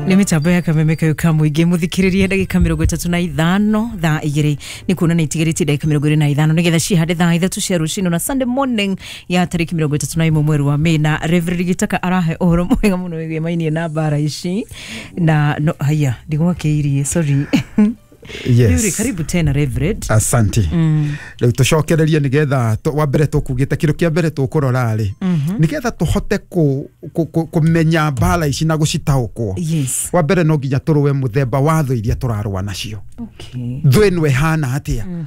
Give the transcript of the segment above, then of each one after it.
Nä mä tambo ya kameme kayo ka må ingä må thikä rä rie ndagä 35 thaa 2 nä kuona nä itigarä tie ndagä 25 nä getha cihande thaa 3 cia rå cinä na Sunday morning ya tarä 31 mweri wa Mĩ na Reverend Gitaka arahe å horo mwega må no wä mainie na mbara ici na no, haya ndigwakä irie, sorry. Yes. Rĩu rĩ, karibu tena, Reverend. Asante. Rĩu tũcokererie nĩgetha wa mbere tũkugĩte kĩndũ kĩa mbere tũkũrora rĩ, nĩgetha tũhote kũmenya mbara ici na gũcitaũkwo, wa mbere no nginya tũrũe mũthemba wa thũ iria tũrarũa nacio. Thũ ĩno ĩhana atĩa?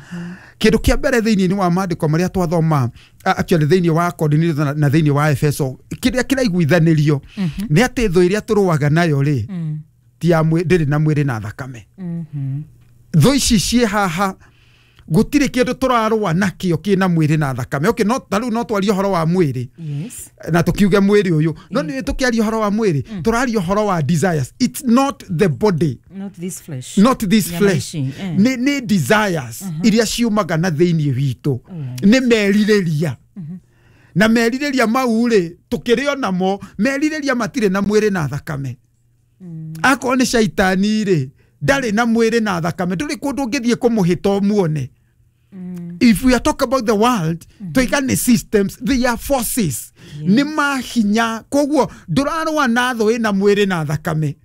Kĩndũ kĩa mbere thĩinĩ wa maandĩko marĩa twathoma, actually thĩinĩ wa Korinitho na thĩinĩ wa Efeso, kĩrĩa kĩraiguithanĩrio nĩ atĩ thũ ĩrĩa tũrũaga nayo rĩ, ti ya ndĩrĩ na mwĩrĩ na thakame. Thũ ici ciĩ haha, gũtirĩ kĩndũ tũrarũa nakĩo kĩna mwĩrĩ na thakame. Okay, no ta rĩu no twarie ũhoro wa mwĩrĩ na tũkiuge mwĩrĩ ũyũ, no nĩ tũkĩaria ũhoro wa mwĩrĩ, tũraria ũhoro wa desires. It's not the body. Not this flesh. Not this Nyama flesh. ici, eh. Nĩ desires iria ciumaga na thĩinĩ witũ, nĩ merirĩria, na merirĩria mau rĩ, tũkĩrĩ onamo merirĩria matirĩ na mwĩrĩ na thakame. Akorwo nĩ caitani rĩ, ndarĩ na mwĩrĩ na thakame, ndũrĩ kũndũ ũngĩthiĩ kũmũhĩta ũmuone. If we are talk about the world, tuiga nĩ systems, they are forces, nĩ mahinya. Koguo ndũrarũa na thũ ĩna mwĩrĩ na thakame.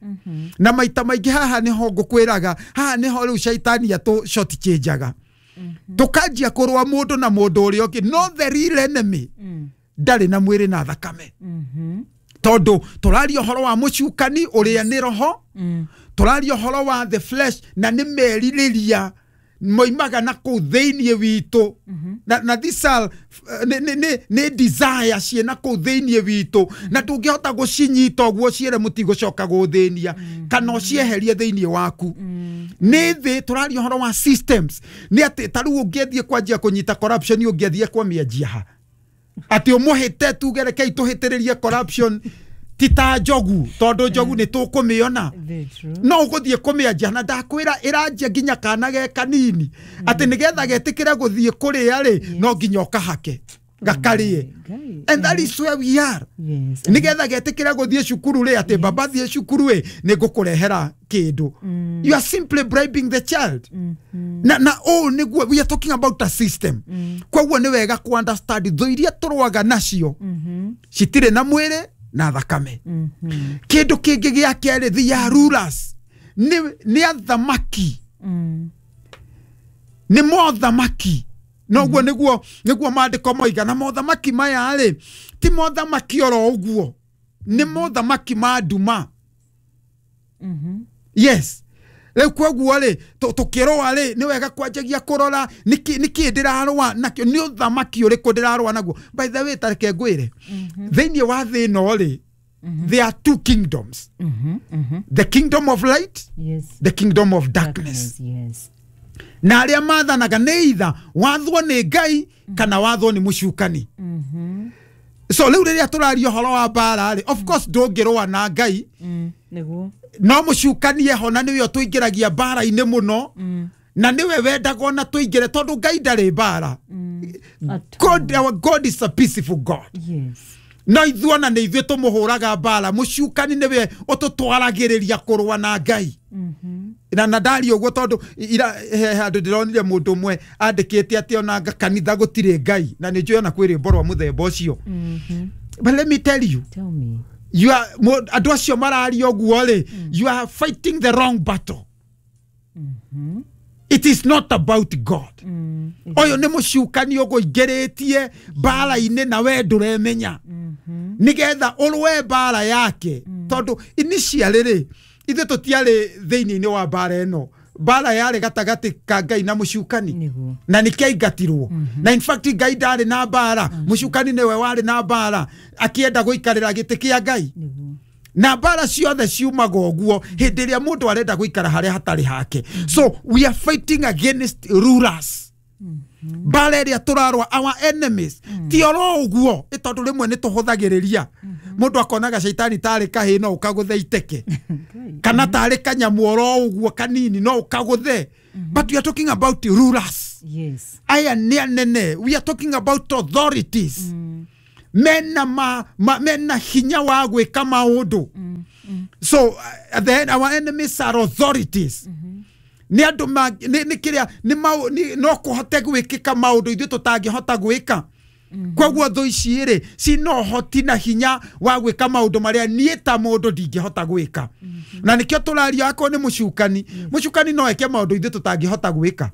Na maita maingĩ haha nĩho ngũkwĩraga, haha nĩho rĩu caitani atũ short changeaga, tũkanjia kũrũa mũndũ na mũndũ ũrĩa ũngĩ, no the real enemy ndarĩ na mwĩrĩ na thakame, tondũ tũraria ũhoro wa mũcukani ũrĩa nĩ roho, tũraria ũhoro wa the flesh na nĩ merirĩria moimaga na kũu thĩinĩ witũ, na these are, nĩ desire ciĩna kũu thĩinĩ witũ, na ndũngĩhota gũcinyita ũguo ciĩre mũtigũcoka gũthĩnia kana ũcieherie thĩinĩ waku. Nĩ thĩ tũraria ũhoro wa systems, nĩ atĩ ta rĩu ũngĩathiĩ kwanjia kũnyita corruption, ũngĩathiĩ kwamĩanjia ha atĩ ũmũhĩte tuge rekei tũhĩtĩrĩrie corruption, ti ta njogu, tondũ njogu nĩ tũkũmĩona. Very true. No ũgũthiĩ kũmĩanjia na ndakwĩra ĩranjia nginya kana ge kanini, atĩ nĩgetha getĩkĩre gũthiĩ kũrĩa rĩ, no nginya ũkahake gakarĩe. Ngai. And that is where we are. Nĩgetha getĩkĩre gũthiĩ cukuru rĩ, atĩ baba thiĩ cukuru ĩ, nĩ ngũkũrehera kĩndũ. You are simply bribing the child. Na ũũ nĩguo we are talking about a system. Koguo nĩ wega ku understand thũ iria tũrũaga nacio citirĩ na mwĩrĩ na thakame. Kĩndũ kĩngĩ gĩa kerĩ, they are rulers, nĩ athamaki, nĩ mothamaki. Noguo nĩguo maandĩko moiga, na mothamaki maya rĩ, ti mothamaki oro ũguo, nĩ mothamaki ma nduma. Yes. Rĩu koguo rĩ, tũkĩrũa rĩ, nĩ wega kwanjagia kũrora nĩkĩ ndĩrarũa nakĩo, nĩ ũthamaki ũrĩkũ ndĩrarũa naguo. By the way, tareke ngwĩre, thĩinĩ wa thĩ ĩno rĩ, there are two kingdoms, the kingdom of light, the kingdom of darkness. Darkness, yes. Na arĩa mathanaga nĩ itha wathwo nĩ Ngai kana wathwo nĩ mũcukani. So rĩu rĩrĩa tũraria ũhoro wa mbara rĩ, of course ndũngĩrũa na Ngai. Nĩguo. No mũcukani eho, na nĩwe ũtũingĩragia mbara-inĩ mũno, na nĩwe wendaga ona tũingĩre, tondũ Ngai ndarĩ mbara. At God, our God is a peaceful God. No ithuĩ ona nĩ ithuĩ tũmũhũraga mbara. Mũcukani nĩwe ũtũtwaragĩrĩria kũrũa na Ngai. Na ndaria ũguo tondũ ira he handũ ndĩronire mũndũ ũmwe andĩkĩte atĩ ona anga kanitha gũtirĩ Ngai, na nĩ njũĩ ona kwĩ rwĩmbo rwa mũthemba ũcio. But let me tell you, Tell me. you are andũ acio mararia ũguo rĩ, you are fighting the wrong battle. It is not about God. Ũyũ nĩ mũcukani ũgũingĩrĩtie mbara-inĩ na we ndũremenya, nĩgetha ũrũe mbara yake, tondũ initially rĩ, ithuĩ tũtiarĩ thĩinĩ-inĩ wa mbara ĩno. Mbara yarĩ gatagatĩ ka Ngai na mũcukani. Na nĩkĩaingatirwo, na in fact Ngai ndarĩ na mbara, mũcukani nĩwe warĩ na mbara akĩenda gũikarĩra gĩtĩ kĩa Ngai. Na mbara ciothe ciumaga ũguo hĩndĩ ĩrĩa mũndũ arenda gũikara harĩa hatarĩ hake. So we are fighting against rulers. Mbara ĩrĩa tũrarũa, our enemies, ti oro ũguo ĩ, tondũ rĩmwe nĩ tũhũthagĩrĩria, mũndũ akonaga caitani tarĩ kahĩ no ũkagũthe iteke, kana tarĩ kanyamũ oro ũguo kanini no ũkagũthe, but we are talking about rulers. Aya nĩ anene. We are talking about authorities mena, ma, ma, mena hinya wa gwĩka maũndũ. So then our enemies are authorities. Nĩ andũ nĩ kĩrĩa nĩ no kũhote gwĩkĩka maũndũ ithuĩ tũtangĩhota gwĩka. Koguo thũ ici rĩ cina ũhoti na hinya wa gwĩka maũndũ marĩa niĩ ta mũndũ ndingĩhota gwĩka. Na nĩkĩo tũraria akorwo nĩ mũcukani, mũcukani no eke maũndũ ithuĩ tũtangĩhota gwĩka.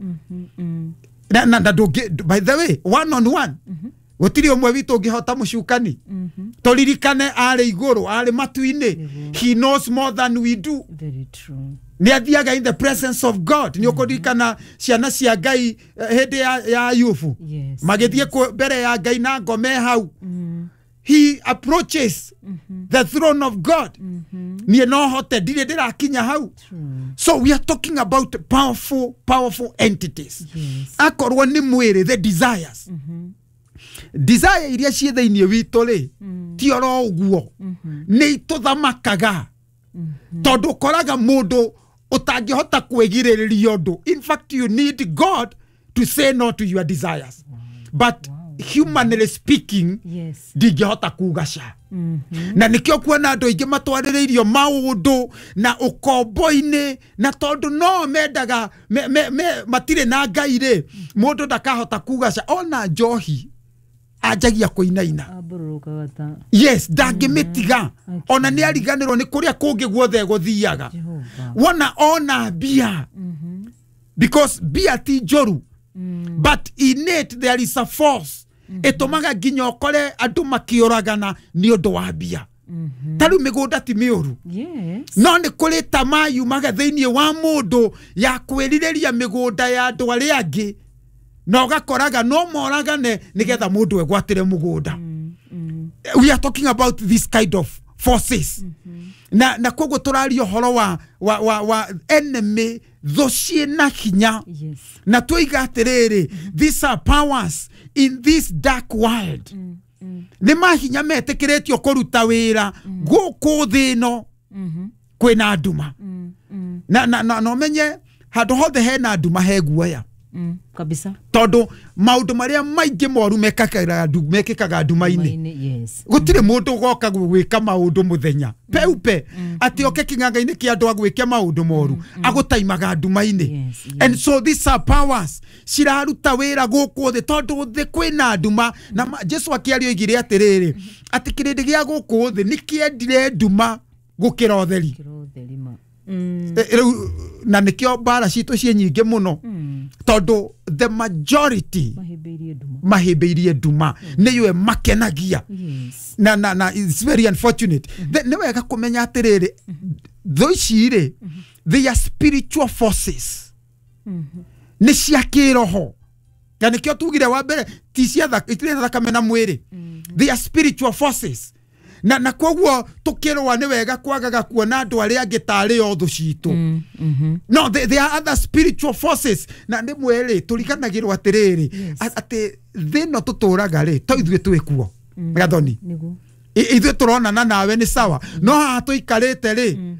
Na ndũngĩ, by the way, one on one, gũtirĩ ũmwe witũ ũngĩhota mũcukani. Tũririkane arĩ igũrũ, arĩ matu-inĩ. He knows more than we do. Very true. Nĩ athiaga in the presence of God. Nĩ ũkũririkana ciana cia Ngai hĩndĩ ya Ayubu. Yes. Magĩthiĩ mbere ya Ngai na ngome hau. He approaches the throne of God. Niĩ no hote, ndirĩ ndĩrakinya hau. So we are talking about powerful, powerful entities. Yes. Akorwo nĩ mwĩrĩ, the desires. Desire iria ciĩ thĩinĩ witũ rĩ, ti oro ũguo. Nĩ itũthamakaga. Tondũ ũkoraga mũndũ ũtangĩhota kwĩgirĩrĩria ũndũ. In fact, you need God to say no to your desires. But humanly speaking, Yes. ndingĩhota kuga ca. Na nĩkĩo kuona andũ aingĩ matwarĩrĩirio maũndũ na ũkombo-inĩ, na tondũ no mendaga matirĩ na Ngai rĩ, mũndũ ndakahota kuga ca. Ona njohi anjagia kũinaina. Ambũrũrũkaga ta Yes, ndangĩmĩtiga. Ona nĩ ariganĩrwo nĩ kũrĩa kũngĩ guothe gũthiaga. Jehova. Wona ona mbia, because mbia ti njũru, but in it there is a force ĩtũmaga nginya ũkore andũ makĩũragana nĩ ũndũ wa mbia. Ta rĩu mĩgũnda ti mĩũru. Yes. No nĩ kũrĩ tamaa yumaga thĩinĩ wa mũndũ ya kwĩrirĩria mĩgũnda ya andũ arĩa angĩ, na ũgakoraga no moragane nĩgetha mũndũ egwatĩre mũgũnda. We are talking about this kind of forces. Na koguo tũraria ũhoro wa enemy, thũ ciĩna hinya. Yes. Na twoiga atĩrĩrĩ, these are powers in this dark world. Nĩ mahinya metĩkĩrĩtio kũruta wĩra gũkũ thĩ ĩno kwĩna nduma. Na ũmenye handũ hothe hena nduma he guoya. Kabisa. Tondũ maũndũ marĩa maingĩ moru mekĩkaga nduma-inĩ. Yes. Gũtirĩ mũndũ ũgoka gwĩka maũndũ mũthenya peupe atĩ oke kĩng'ang'a-inĩ kĩa andũ agwĩke maũndũ moru, agũtaimaga nduma-inĩ. Yes, yes. And so these are powers ciraruta wĩra gũkũ thĩ tondũ thĩ kwĩna nduma. Na Jesu akĩaria oigire atĩrĩrĩ, atĩ kĩrĩndĩ gĩa gũkũ thĩ nĩ kĩendire nduma gũkĩra ũtheri. Gũkĩra ũtheri ma. Rĩu na nĩkĩo mbara citũ ciĩ nyingĩ mũno, tondũ the majority mahĩmbĩirie nduma nĩyo ĩmakenagia. Yes. Na it's very unfortunate. Nĩ wega kũmenya atĩrĩrĩ, thũ ici rĩ, they are spiritual forces. Nĩ cia kĩroho. Na nĩkĩo tugire wa mbere ti cia itirĩ thakame na mwĩrĩ. They are spiritual forces. Na koguo tũkĩrũa nĩ wega kwagaga kuona andũ arĩa angĩ tarĩ o thũ citũ. No, there are other spiritual forces. Na rĩmwe rĩ tũriganagĩrwo atĩrĩrĩ, atĩ thĩ ĩno tũtũraga rĩ, to ithuĩ twĩ kuo. Gathoni. Ithuĩ tũronana nawe nĩ sawa, no haha tũikarĩte rĩ,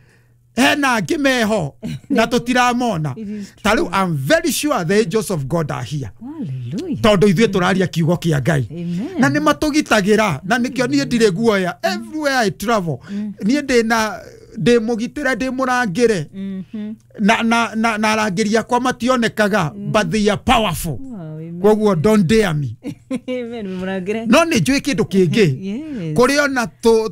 hena angĩ meho na tũtiramona. Ta rĩu I'm very sure the angels of God are here. Hallelujah. Tondũ ithuĩ tũraria kiugo kĩa Ngai. Na nĩ matũgitagĩra, na nĩkĩo niĩ ndirĩ guoya. Everywhere I travel, niĩ ndĩna ndĩ mũgitĩre, ndĩ mũrangĩre. Na arangĩri akwa mationekaga, but they are powerful. Koguo don't dare me. Amen, mũrangĩre. No nĩ njũĩ kĩndũ kĩngĩ. Kũrĩ ona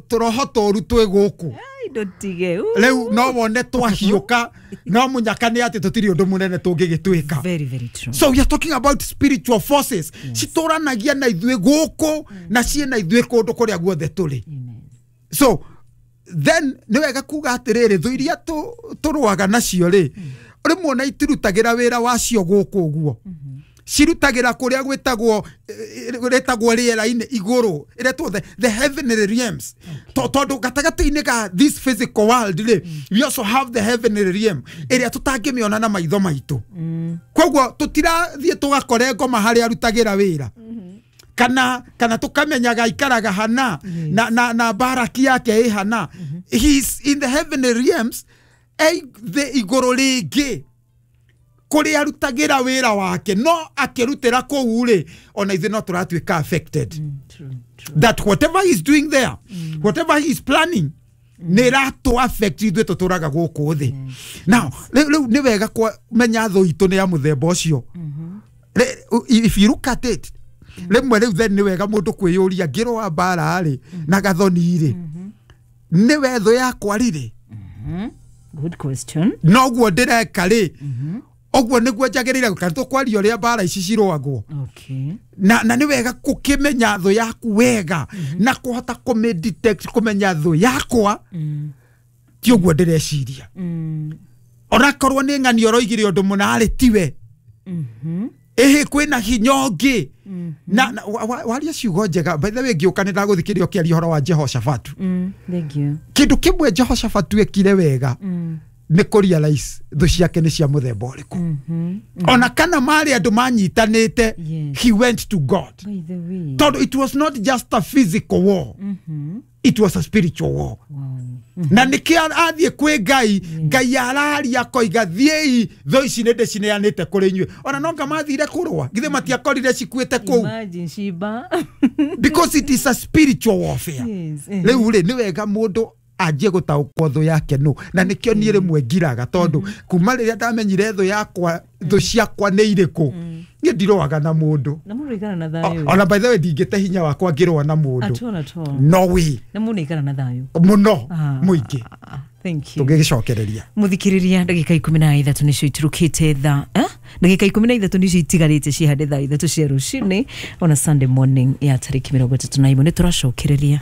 tũroho tũru twĩ gũkũ. Ndotige. Rĩu no wone twahiũka, no mũnyaka nĩ atĩ tũtirĩ ũndũ mũnene tũngĩgĩtuĩka. Very, very true. So we are talking about spiritual forces. Citũranagia na ithuĩ gũkũ na ciĩ na ithuĩ kũndũ kũrĩa guothe tũrĩ. So then nĩ wega kuga atĩrĩrĩ, thũ iria tũrũaga nacio rĩ, rĩmwe ona itirutagĩra wĩra wacio gũkũ ũguo. Cirutagĩra kũrĩa gwĩtagwo rĩtagwo rĩera-inĩ igũrũ, ĩretwo the heavenly realms. Tondũ gatagatĩ-inĩ ga this physical world rĩ, we also have the heavenly realm ĩrĩa tũtangĩmĩona na maitho maitũ. Koguo tũtirathiĩ tũgakore ngoma harĩa arutagĩra wĩra, kana tũkamenyaga aikaraga hana, na baraki yake ĩ hana. He is in the heavenly realms, thĩ igũrũ rĩngĩ kũrĩa arutagĩra wĩra wake, no akĩrutĩra kũu rĩ, ona ithuĩ no tũratuĩka affected. True, true. That whatever he's doing there, whatever he's planning, Nä ratå affect ithuä tå tå raga gå kå thä. Now rä u nä wega menya thå itå nä ya må themba å cio. If you look at it, rĩmwe rĩu then nĩ wega mũndũ kwĩyũria ngĩrũa mbara rĩ na gathoni rĩ, nĩ we thũ yakwa rĩrĩ? Good question. Noguo ndĩreka rĩ, ũguo nĩguo njagĩrĩire gwĩka? Tũkwaria ũrĩa mbara ici cirũagwo. Na nĩ wega gũkĩmenya thũ yaku wega na kũhota kũmĩ-detect, kũmenya thũ yakwa ti ũguo ndĩreciria. Onakorwo nĩ ng'ani ũroigire ũndũ mũna rĩ, tiwe. Ĩhĩ kwĩna hinya ũngĩ. Na waria ciugo njega. By the way, ngĩũka nĩ ndagũthikĩrĩria ũkĩaria ũhoro wa Jehoshafatu. Thank you. Kĩndũ kĩmwe Jehoshafatu ekire wega nĩ kũ realize thũ ciake nĩ cia mũthemba ũrĩkũ. Ona kana marĩ andũ manyitanĩte, he went to God. By the way, tondũ it was not just a physical war, it was a spiritual war. Na nĩkĩo athiĩ kwĩ Ngai, Ngai araria akoiga thiĩi, thũ ici nĩ ndĩcineanĩte kũrĩ inyuĩ. Ona no nga mathire kũrũa, githĩ matiakorire cikuĩte kũu? Imagine Shiba. Because it is a spiritual warfare. Rĩu rĩ, nĩ wega mũndũ anjie gũtaũkwo thũ yake nũ. Na nĩkĩo niĩ rĩmwe ngiraga, tondũ kuma rĩrĩa ndamenyire thũ yakwa, thũ ciakwa nĩ irĩkũ, niĩ ndirũaga na mũndũ. Na mũndũ aikara na thayũ. Ona by the way, ndingĩte hinya wakwa ngĩrũa na mũndũ. At all, at all. No way. Na mũndũ aikara na thayũ. Mũno mũingĩ. Thank you. Tũngĩgĩcokereria. Mũthikĩrĩria, ndagĩka 13 nĩcio iturũkĩte thaa, ndagĩka 13 nĩcio itigarĩte cihande thaa 3 cia rũcinĩ ona Sunday morning ya tarĩki 31. Nĩ tũracokereria.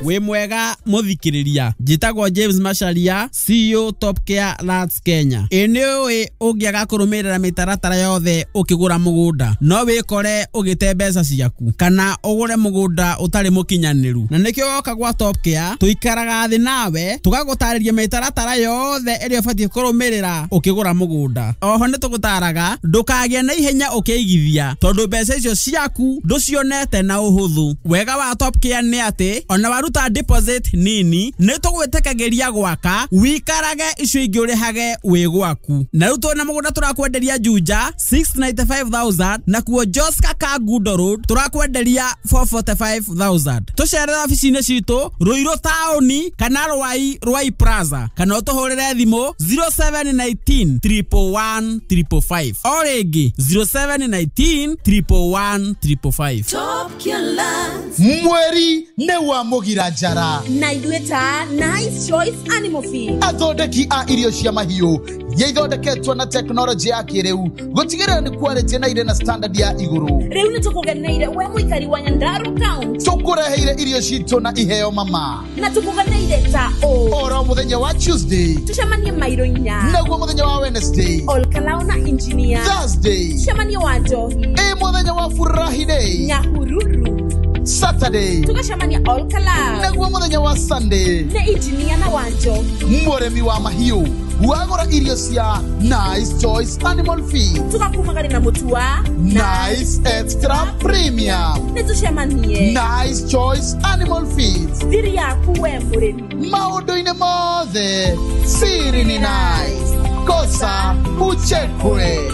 Wĩ mwega mũthikĩrĩria, njĩtagwo James Macharia, CEO Top Care Lands Kenya. Ĩ nĩ ũĩ ũngĩaga kũrũmĩrĩra mĩtaratara yothe ũkĩgũra mũgũnda, no wĩkore ũgĩte mbeca ciaku kana ũgũre mũgũnda ũtarĩ mũkinyanĩru. Na nĩkĩo woka gwa Top Care tũikaraga thĩ nawe tũgagũtarĩria mĩtaratara yothe ĩrĩa ũbatiĩ kũrũmĩrĩra ũkĩgũra mũgũnda. Oho nĩ tũgũtaraga ndũkagĩe na ihenya ũkĩigithia, tondũ mbeca icio ciaku ndũcionete na ũhũthũ. Wega wa Top Care nĩ atĩ ona waruta deposit nini nĩ tũgwĩtĩkagĩria gwaka, wikarage icio ingĩ ũrĩhage wĩ gwaku. Na rĩu twĩna mũgũnda tũrakwenderia Juja 695,000, nakuo Joska Kangundo Road tũrakwenderia 445,000. Tũcerere obici-inĩ citũ Ruiru taũni kana Rwai, Rwai Plaza, kana ũtũhũrĩre thimũ 0719 111 555. O rĩngĩ 0719 111 555. Top Lands. Mweri nĩ wa mũgira njara. Na ithuĩ ta Nice Choice Animal Feed, athondeki a irio cia mahiũ iria ithondeketwo na tekinoronjĩ ya kĩrĩu gũtigĩrĩra nĩ quality na irĩ na standard ya igũrũ. Rĩu nĩ tũkũgeneire we mũikari wa Nyandarua County. Tũkũreheire irio citũ na iheo mama. Na tũkũgeneire ta ũ oro mũthenya wa Tuesday tũcemanie mairo 4, naguo mũthenya wa Wednesday Olkalao na engineer, Thursday tũcemanie wa Njohi, ĩ mũthenya wa Furahi Day Nyahururu, Saturday tũgacemania Olkalao, naguo mũthenya wa Sunday nĩ engineer na wa Njohi. Mũrĩmi wa mahiũ wagũra irio cia Nice Choice Animal Feed, tũgakumagari na mũtu wa Nice Extra Premium. Nĩ tũcemanie Nice Choice Animal Feed, thiri yaku we mũrĩmi. Maũndũ-inĩ mothe siri ni nice, kosa uchekwe.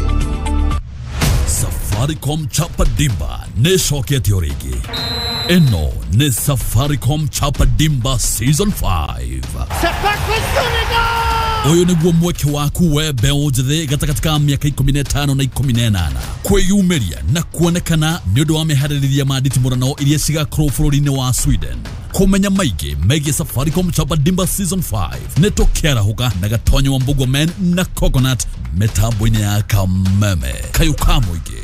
Safaricom Chapa Dimba nĩ ĩcokete o rĩngĩ. Ĩno nĩ Safaricom Chapa Dimba Season 5. Ũyũ nĩguo mweke waku we mbeũ njĩthĩ gatagatĩ ka mĩaka 15 na 18 kwĩyumĩria na kuonekana nĩ ũndũ wa meharĩrĩria ma nditimũrano iria cigakorwo bũrũri-inĩ wa Sweden. Kũmenya maingĩ megiĩ Safaricom Chapa Dimba Season 5 nĩ tũkĩarahũka na Gatonyo wa Mbugua Men na Coconut mĩtambo-inĩ ya Kameme. Kayũ ka mũingĩ.